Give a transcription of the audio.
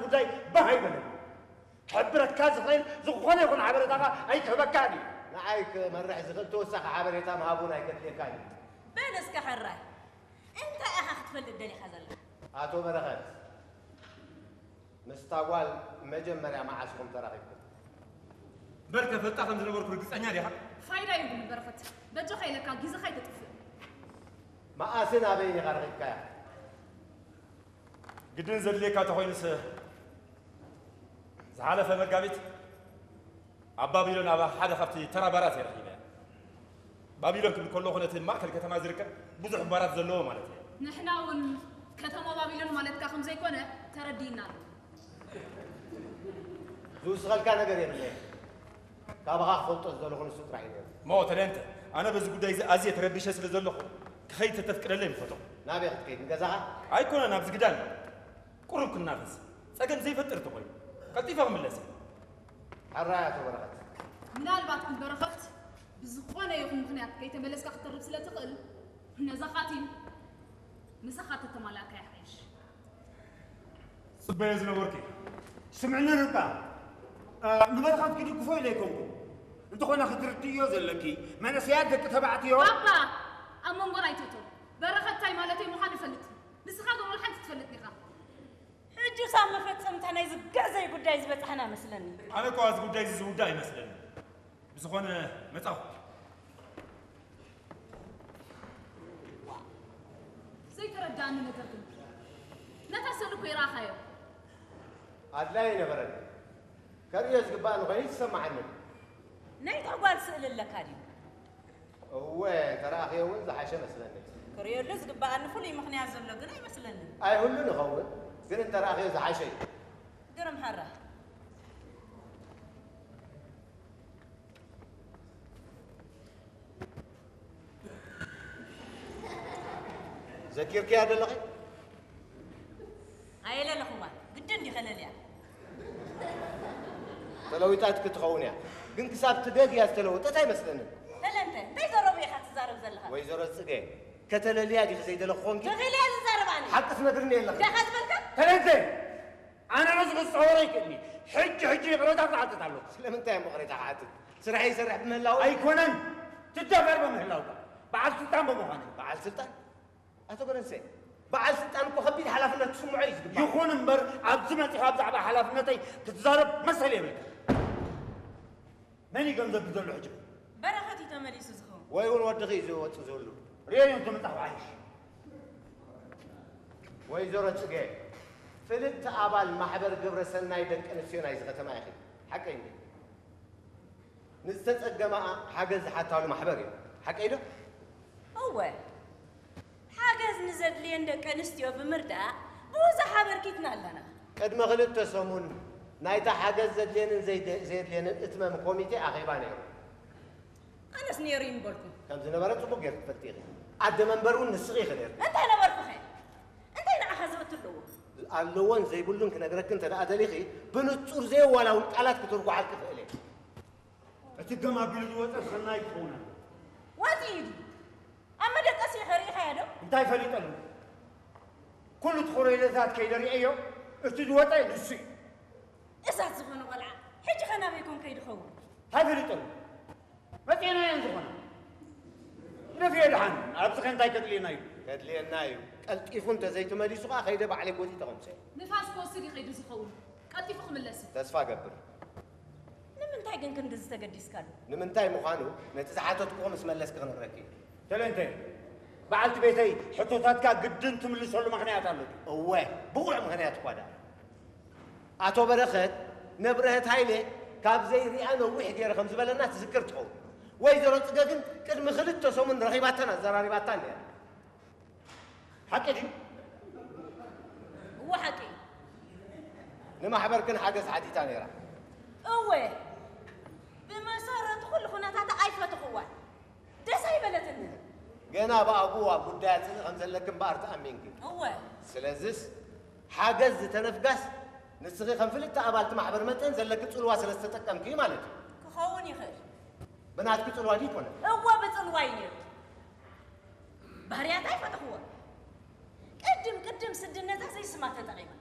ጉዳይ ባህ ኣይበለኒ። ክሕብረካ ዝኽእል ዝኾነ ይኹን ሓበሬታ ኸኣ ኣይክህበካን እዩ። ንዓይ ክመርሕ ዝኽእል ተወሳኺ ሓበሬታ ምሃብ እውን ኣይከድልየካን እዩ። በል እስከ ሕራይ፣ እንታይ ኢኻ ክትፈልጥ ደሊኻ ዘለኻ? ኣቶ በረኸት፣ ምስታ ጓል መጀመርያ መዓስ ኢኹም ተራኺብኩም? እምበር ከፈልጣ ከም ዝነበርኩ ርግጸኛ ዲኻ? ፋይዳ የብሉን በረኸት፣ በጃኻ ኢለካ ግዜኻ ኣይተጥፍእ። መኣስን ኣበይን ኢኻ ረኺብካያ? ግድን ዘድልየካ እንተኾይኑስ፣ ዝሓለፈ መጋቢት ኣብ ባቢሎን ኣብ ሓደ ካብቲ ተራ ባራት እየ ረኺበያ። ባቢሎን ክብል ከለኹ ነቲ ማእከል ከተማ ዝርከብ ብዙሕ ባራት ዘለዎ ማለት እየ። ንሕና እውን ከተማ ባቢሎን ማለትካ ከም ዘይኮነ ተረዲእና ኣሎ። ዝውስኸልካ ነገር የብለይን። ካባኻ ክፈልጦ ዝደለኹ ንሱ ጥራሕ እዩ ነይሩ። እሞ ተደንተ፣ ኣነ በዚ ጉዳይ እዚ ኣዝየ ተረቢሸ ስለ ዘለኹ፣ ክኸይድ ተተፍቅደለይ ምፈተኹ። ናበይ ክትከይድ? ንገዛኻ? ኣይኮነን፣ ኣብዚ ግዳን። ቁሩብ ክናፈስ። ጸገም ዘይፈጥር እንተኾይኑ፣ ቀልጢፈ ክምለስ እየ። ሕራይ ኣቶ በረኸት። ምናልባት ግን በረኸት፣ ብዝኾነ ይኹን ምኽንያት ከይተመለስካ ክትተርፍ ስለ ትኽእል፣ ነዛ ኻቲም ምሳኻ ተተማላእካ ይሓይሽ። ጽበዮ ዝነበርኩ እዩ። ስምዕኒ ርብቃ፣ እ፣ ንበረኸት ክድግፎ ኢለ ኣይኮንኩን። እንተኾነ ክትርድእዮ ዘለኪ፣ መንእሰያት ደቂ ተባዕትዮ ባባ፣ ኣብ መንጎና ኣይትእቶ። በረኸት እንታይ ማለተይ ምዃኑ ይፈልጥ። ንስኻ ግን ወላ ሓንቲ ትፈልጥ ኢኻ። ሕጂ ሳብ መፈጸምታ ናይዚ ግዕዘይ ጉዳይ ዝበጻሕና መስለኒ። ኣነ እኮ ኣብዚ ጉዳይ እዚ ዝውዳእ ኣይመስለኒ። ብዝኾነ መጻኹ። ዘይተረዳእኒ ነገር ግን፣ ነታ ስእሊ እኮ ይረኣኻዮ። ኣድላይ ኣይነበረን። ከርእዮ ዝግባእኒ ኮይኑ ይሰማዓኒ። ናይታ ጓል ስእሊ ኣለካ ድዩ? እወ፣ እንተረኣኽዮ እውን ዝሓሸ መስለኒ። ክርእየሉ ዝግባኣኒ ፍሉይ ምኽንያት ዘሎ ግን ኣይመስለንን። ኣይህሉን ይኸውን፣ ግን እንተረኣኽዮ ዝሓሸ እዩ። ግርም ሓራ። ዘኪርክያ ደለኺ? ኣየለለኹዋ፣ ግድን ዲኸ ለልያ? ተለዊጣት ክትኸውን እያ። ግን ክሳብ ትደግ እያ ዝተለወጠት ኣይመስለንን። ተለንተ፣ እንታይ ዘረቡ ኢኻ ትዛረብ ዘለኻ? ወይዘሮ ጽገ፣ ከተለልያ ዲኺ ዘይደለኹ ኾንኪ? ተኺለ እየ ዝዛረብ ኣነ። ሓቂ ትነግርኒ የለኽን። እንታይ ኢኻ ዝበልካ? ተለንተ! ኣነ ነዚ ክጸወሮ ኣይክእልኒ። ሕጂ፣ ሕጂ ይቕሬታ ክሓትት ኣለኹ። ስለምንታይ እሞ ይቕሬታ ክሓትት? ስራሕ ይሰርሕ ብምህላው? ኣይኮነን። ትደፈር ብምህላውካ። በዓል ስልጣን ብምዃነይ። በዓል ስልጣን? ኣቶ ገረንሰ፣ በዓል ስልጣን እኮ ከቢድ ሓላፍነት ክስምዖ እዩ ዝግባእ። ይኹን እምበር፣ ኣብዚ መጺኻ ብዛዕባ ሓላፍነተይ ክትዛረብ መሰል የብልካ። መን እዩ ገንዘብ ዝደሎ ሕጂ? በረኸት እዩ ተመሊሱ ዝኸውን። ወይ እውን ወድኺ እዩ ዝወጽእ ዝህሉ። ርእዮ እዮም ተመጻኹ ዓይሽ። ወይዘሮ ጽገ፣ ፍልጥቲ ኣባል ማሕበር ግብረ ሰናይ ደቂ ኣንስትዮ ናይዚ ከተማ ኢኺ። ሓቀይ እንዴ? ንዝተጸገማኣ ሓገዝ ዝሓታሉ ማሕበር እዩ። ሓቀይ ዶ? እወ። ሓገዝ ንዘድልየን ደቂ ኣንስትዮ ብምርዳእ ብዙሕ ኣበርኪትና ኣለና። ቅድሚ ክልተ ሰሙን ናይታ ሓገዝ ዘድልየንን ዘይደ-፣ ዘየድልየንን እትመም ኮሚቴ ኣኼባ ነይሩ። ኣነስ ነይሩ ይምበልኩ። ከም ዝነበረ ጽቡቕ ጌርኪ ትፈልጢ ኢኺ። ኣደ መንበር እውን ንስኺ ኢኺ ነይርኪ። እንታይ ነበርኩኸ? እንታይ ንዓኻ ዝቕትል ኣለዎ? ኣለዎን ዘይብሉን ክነግረኪ እንተ ደኣ ደሊኺ፣ ብንጹር ዘየዋላውል ቃላት ክትርጉሓልኪ እኽእል እየ። እቲ ገም ኣቢሉ ዝወጸ ሰናይ ክኸውን ኣለዎ። ወጺኡ ድዩ? ኣብ መደቀሲ ኢኻ ርኢኻዮ ዶ? እንታይ ፈሊጠሉ? ኩሉ እቲ ኮረይለታት ከይደ ርእየዮ፣ እቲ ዝወጸ ንሱ እዩ። እሳት ዝኾነ ቆልዓ፣ ሕጂ ኸ ናበይ ኮን ከይዱ ኸውን? እንታይ ፈሊጠሉ? መጺእናዮ ዝኾነ። ንፍዮ ደሓን፣ ኣብዚ ኸ እንታይ ከድልየና እዩ? ከድልየና እዩ። ቀልጢፉ እንተዘይተመሊሱ ኸኣ ከይደ ባዕለይ ጎቲተ ከምጽኦ። ንፋስ ክወስድ እዩ ከይዱ ዝኸውን። ቀልጢፉ ክምለስ እዩ። ተስፋ እገብር። ንምንታይ ግን ክንድዚ ተገዲስካሉ? ንምንታይ ምዃኑ ነቲ ዝሓተትኩዎ ምስ መለስኪ ክነግረኪ እየ። ተለንተ፣ በዓልቲ ቤተይ ሕቶታትካ ግድን ትምልሰሉ ምኽንያት ኣሎ ድዩ? እወ፣ ብቑዕ ምኽንያት እኳ ደኣ። ኣቶ በረኸት፣ ነብረህት ሃይለ ካብ ዘይሪኣ ነዊሕ ገይረ ከም ዝበለና ትዝክር ትኸውን። ወይዘሮ ጽገ ግን ቅድሚ ክልተ ሰሙን ረኺባታን ኣዘራሪባታን ነይራ። ሓቂ ድዩ? እወ፣ ሓቂ እዩ። ንማሕበርክን ሓገዝ ሓቲታ ነይራ። እወ፣ ብመሰረቱ ኩሉ ኩነታታ ኣይፈተኽዋን። ደስ ኣይበለትንን። ገና ብኣግኡ ኣብ ጉዳያ ጽልኢ ከም ዘለኪ እምበኣር ተኣሚንኪ። እወ። ስለዝስ፣ ሓገዝ ዝተነፍጋስ፣ ንስኺ ከም ፍልጥቲ ኣባልቲ ማሕበር መጠን ዘለኪ ጽልዋ ስለ ዝተጠቀምኪ ማለት እዩ። ክኸውን ይኽእል። ብናትኪ ጽልዋ ድዩ ይኮነ? እወ፣ ብጽልዋይ ነይሩ። ባህርያታ ኣይፈተኽዎን። ቅድም ቅድም ስድነታ ዘይስማ ተጠቒማ።